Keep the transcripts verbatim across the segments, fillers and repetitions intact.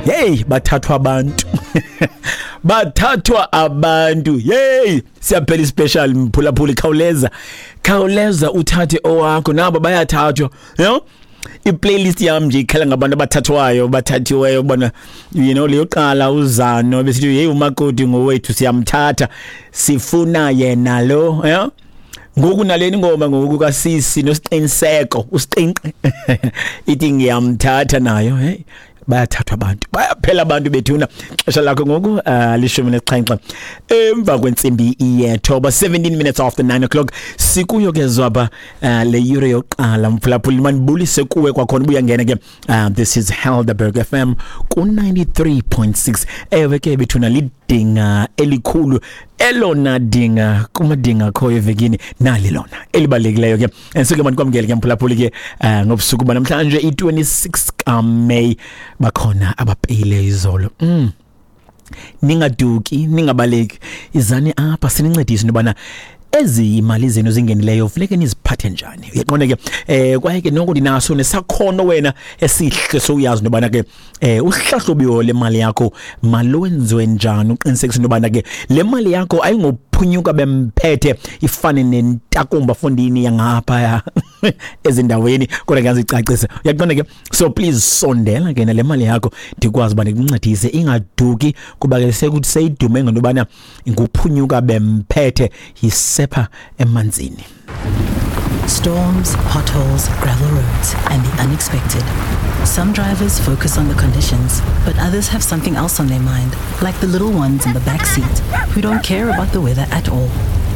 Hey, bathathwa abantu. Bathathwa abantu. Hey, siyaphela special mphulaphuli, khawuleza. Khawuleza uthathe owakho, nabo bayathathwa. You know? I-playlist yam nje ikhala ngabantu abathathwayo, bathathiweyo bona, you know, leyoqala uzano besithi, "Hey, umakoti ngowethu, siyamthatha, sifuna yena lo." Yeah, ngoku naleni ngoma ngoku kasisi nosiqiniseko usiqinqe ithi ngiyamthatha nayo. Hey, bayathathwa abantu, bayaphela abantu bethuna. Xesha lakho ngoku uh, lishumi nesixhenxe emva kwentsimbi yethoba, seventeen minutes after nine o'clock. Sikuyo ke zwaba uh, le yure yokuqala. Mphulaphuli, mandibulise kuwe kwakhona ubuyangena ke. uh, this is Helderberg F M ku ninety-three point six. Ewe ke bethuna, lidinga elikhulu, elona dinga kumadinga akhoyo evekini, nali lona elibalulekileyo ke. Ensuke mandikwamkele ke mphulaphuli ke uh, ngobusuku banamhlanje, i-twenty-six kaMay. Bakhona abapeyile izolo. mm. Ningaduki, ningabaleki, izani apha sinincedise into yobana ezi imali zenu zingenileyo funeke niziphathe njani. Uyaqonda ke, eh kwaye ke noko ndinaso nesakhono wena esihle, sowuyazi into yobana ke eh uhlahlubiwo lemali yakho malwenziwe njani, uqinisekisa into yobana ke le mali yakho ayingophunyuka bemphethe, ifane nentakumba fondini yangapha ezindaweni, kodwa ke ngazicacisa. Uyaqonda ke? So please sondela ke nale mali yakho, ndikwazi uba ndikuncedise ingaduki, kuba ke sekuthi seyidume ngento yobana nguphunyuka bemphethe, yisepha emanzini. Storms, potholes, gravel roads, and the unexpected. Some drivers focus on the conditions, but others have something else on their mind, like the little ones in the back seat who don't care about the weather at all.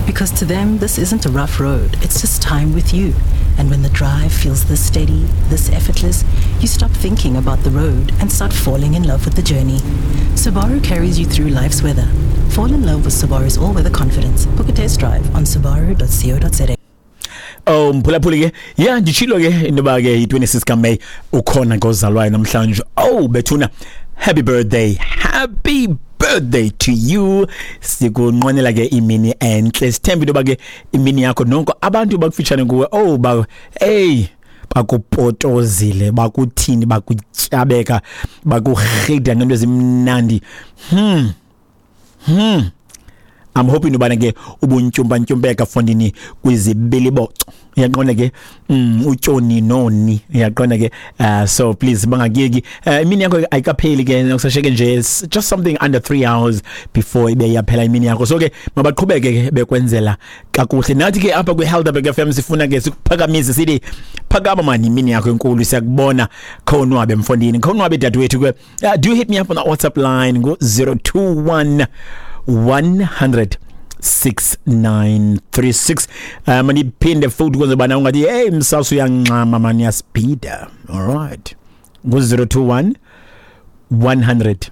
Because to them, this isn't a rough road, it's just time with you. And when the drive feels this steady, this effortless, you stop thinking about the road and start falling in love with the journey. Subaru carries you through life's weather. Fall in love with Subaru's all weather confidence. Book a test drive on subaru dot co dot za. Oh mphulaphuli ke, ya, nditshilo ke into yoba ke yi-twenty-six kaMay, ukhona ngozalwayo namhlanje. Oh bethuna, happy birthday, happy birthday to you. Sikunqwenela ke imini entle, sithemba into yoba ke imini yakho nonke abantu bakufitshane kuwe, oh ba hey, bakupotozile, bakuthini, bakutyabeka, bakurhida ngento ezimnandi. hmm hmm I'm hoping ubana ke ubuntyumpa ntyumpeka fondini kwizibiliboco. Uyaqonda ke? mm utyoni noni, uyaqonda ke? uh, so please bangakiyeki. uh, imini yakho ayikapheli ke, nokusasheke nje just something under three hours before ibe yaphela imini yakho. So ke mabaqhubeke ke bekwenzela kakuhle. Nathi ke apha kwi-Helderberg F M sifuna ke sikuphakamise, sithi phakama mani, imini yakho enkulu siyakubona. Khonwabe mfondini, khonwabe dadewethu ke. uh, do hit me up on the WhatsApp line ngo zero two one one hundred six nine three six. um ndiphinde futhi kwenze bana ungathi, "Hey, msasa uyangxama mani, yaspeeda." All right, ngo zero two one one hundred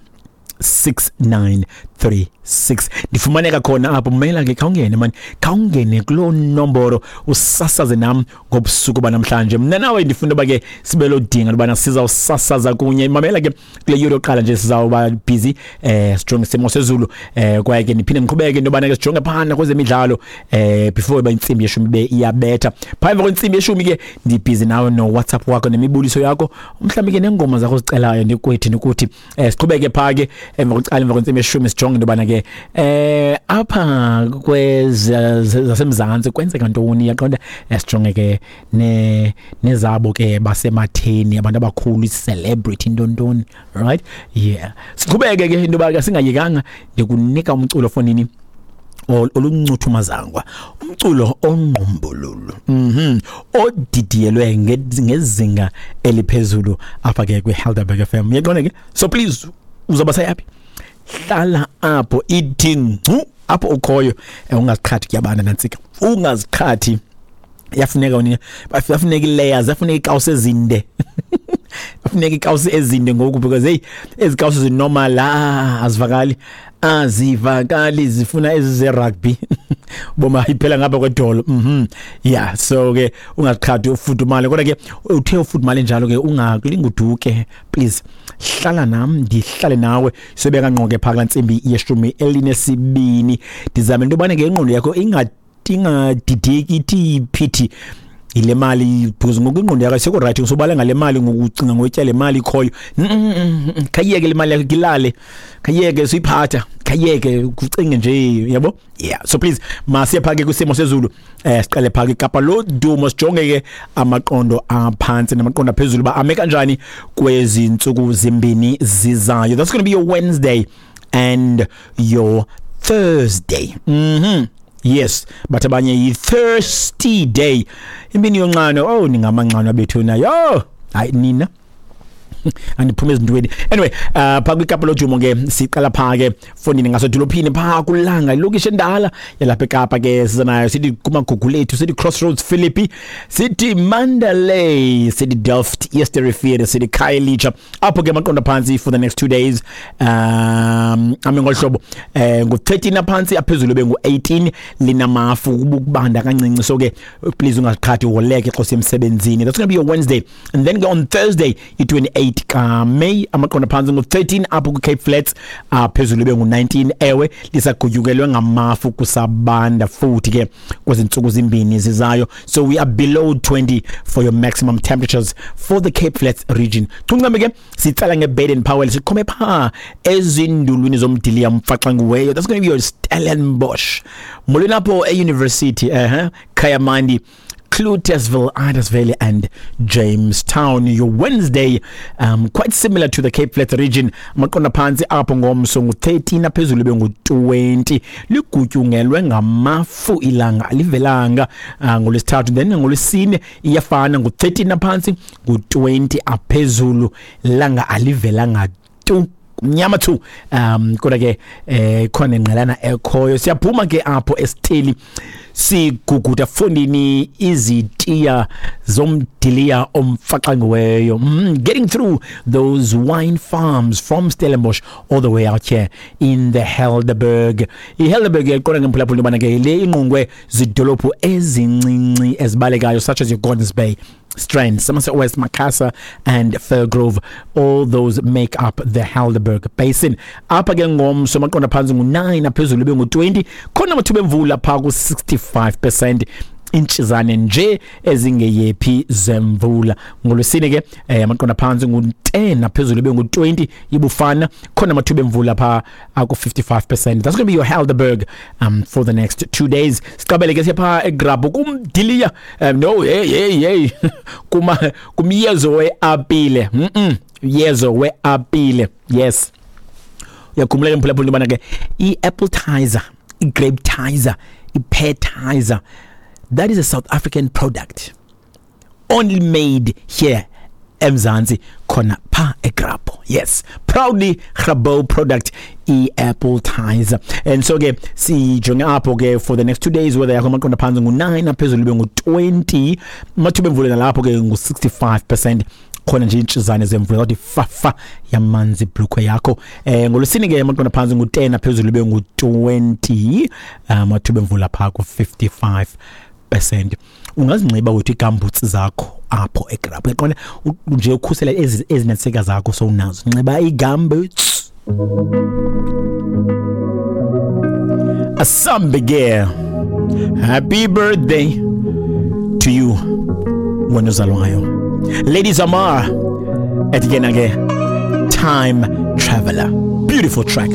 six nine three six ndifumaneka khona apho. Mela ke khawungene mani, khawungene kuloo nomboro, usasaze nam ngobusuku banamhlanje. Mna nawe ndifuna uba ke sibe lodinga ubana sizawusasaza kunye. Mamela ke, kule yure yokuqala nje sizawuba busy eh sijonge isimo sezulu, eh kwaye ke ndiphinde ndiqhubeke into yobana ke sijonge phana kwezemidlalo eh before iba intsimbi yeshumi ibe iyabetha. Phaa emva kwentsimbi yeshumi ke ndibhizi nawe no-WhatsApp wakho nemibuliso yakho, mhlawumbi ke neengoma zakho ozicelayo, ndikuthi ndikuthi eh siqhubeke phaa ke emva kwecala, emva kwentsimbi yeshumi, sijonge into yobana ke eh apha kweza zasemzantsi kwenzeka ntoni. Yaqonda? eh, sijonge ke ne nezabo ke basematheni, abantu abakhulu, i-celebrity, ntontoni, right? Yeah, siqhubeke ke into yoba ke singayekanga. Ndikunika umculo fonini oluncuthu-mazangwa, umculo ongqumbululu, mhm odidiyelwe ngezinga eliphezulu apha ke kwi-Helderberg F M. Uyaqonda ke? So please, uzawuba sayaphi? Hlala apho, ithi ngcu apho ukhoyo. Ungaziqhathi, kuyabana nantsika, ungaziqhathi. Yafuneka wena, yafuneka ii-layers, yafuneka iikawusi ezinde, yafuneka iikawusi ezinde ngoku, because hey, ezi kawusi zinormal, ah, azivakali, azivakali, zifuna ezi ze-rugby boma iphela ngapha kwedolo. mhm yeah so ke ungaziqhathi, ufudumale. Kodwa ke uthe ufudumale njalo ke, ungakulinguduke, please hlala nam, ndihlale nawe. Sobeka ngqo ke phaa kulaa ntsimbi yeshumi elinesibini. Ndizame into yobana ke ingqondo yakho ingadideki, ithi phithi. Ile mali because ngoku ingqondo yakho ayisekho right, usobala ngale mali ngokucinga ngoyitya le mali ikhoyo. Khayiyeke le mali yakho kilale, khayiyeke suyiphatha, khayiyeke kucinge nje, yabo. Yeah, so please masiye phake kwisimo sezulu. Eh siqale phake iKapa lodumo, sijonge ke amaqondo aphansi namaqondo aphezulu ba ame kanjani kwezi ntsuku zimbini zizayo. That's going to be your Wednesday and your Thursday. Mhm. Yes, but abanye yi thirsty day. Imini yonxano, oh ningamanxano bethuna. Yo, hayi nina. Andiphume ezintweni. Anyway, uh pha kwiKapa lodumo ke siqala pha ke fondini ngasedolophini pha kulanga ilokishi endala yalapha eKapa ke siza nayo sithi kumagugu lethu, sithi Crossroads Philippi, sithi Mandalay, sithi Delft, Eerste Rivier, sithi Khayelitsha. Apho ke amaqondo phansi for the next two days um ame ngohlobo eh ngu thirteen aphansi, aphezulu be ngu eighteen, linamafu kubanda kancinci, so ke please ungaziqhathi woleke xa usemsebenzini. That's going to be your Wednesday, and then on Thursday i twenty-eight ka May amaqondo phansi ngu thirteen apho ku Cape Flats, aphezulu be ngu nineteen. Ewe lisagutyukelwe ngamafu kusabanda futhi ke kwezintsuku zimbini zizayo, so we are below twenty for your maximum temperatures for the Cape Flats region. Tuncame ke sitsala ngeBaden Powell, siqhome pha ezindulwini zomdiliya mfaxanguweyo. That's going to be your Stellenbosch, molweni apho e-university, uh-huh, Kayamandi, Cloetesville, Idas and Jamestown. Your Wednesday, um, quite similar to the Cape Flats region. Amaqondo phansi apho ngomso ngu thirteen, aphezulu be ngu twenty. Ligutyungelwe ngamafu ilanga alivelanga uh, ngolwesithathu, then ngolwesine iyafana ngu thirteen aphansi ngu twenty aphezulu, langa alivelanga tu, mnyama tu. Um kodwa ke eh khona ingqelana ekhoyo. Siyaphuma ke apho esitheli siguguda fondini izitiya zomdiliya omfaxangiweyo. Mm, getting through those wine farms from Stellenbosch all the way out here in the Helderberg. IHelderberg iqonda ngemphulaphula intobana ke le ingqungwe zidolophu ezincinci ezibalekayo such as your Gordons Bay, Strand, Somerset West, Macassar and Fairgrove. All those make up the Helderberg Basin. Apha ke ngomso amaqondo phansi ngu nine, aphezulu be ngu twenty. Khona amathuba emvula pha ku sixty-five percent, intshizane nje ezingeyephi zemvula. Ngolwesine ke eh, amaqondo phansi ngu ten, aphezulu be ngu twenty, ibufana khona amathuba emvula pha aku fifty-five percent. That's going to be your Helderberg um for the next two days. Siqabele ke siyapha eGrabho kumdiliya, um, no hey hey hey kuma kumyezo weapile, mhm yezo weapile. Yes, uyakhumbula ke mphulaphula ke i-appletizer, i-grapetizer, i-peartizer, that is a South African product only made here eMzansi khona pha eGrabho. Yes, proudly Grabho product i-appletizer. And so ke sijonge apho ke for the next two days whether yakho amaqondo phansi ngu nine, aphezulu be ngu twenty, amathuba emvula nalapho ke ngu sixty-five percent. Khona nje intshizane zemvula kodwa ifafa yamanzi ibhlukwe yakho. Eh ngolwesine ke amaqondo phansi ngu ten, aphezulu be ngu twenty, amathuba emvula pha ku fifty-five percent. Ungazinxiba wethu igambutsi zakho apho eGrabho, uyaqonda nje ukhusela ezi ezinetseka zakho sowunazo, nxiba igambutsi. Asambe, happy birthday to you wena ozalwayo. Ladies Amar at again again, Time Traveler, beautiful track.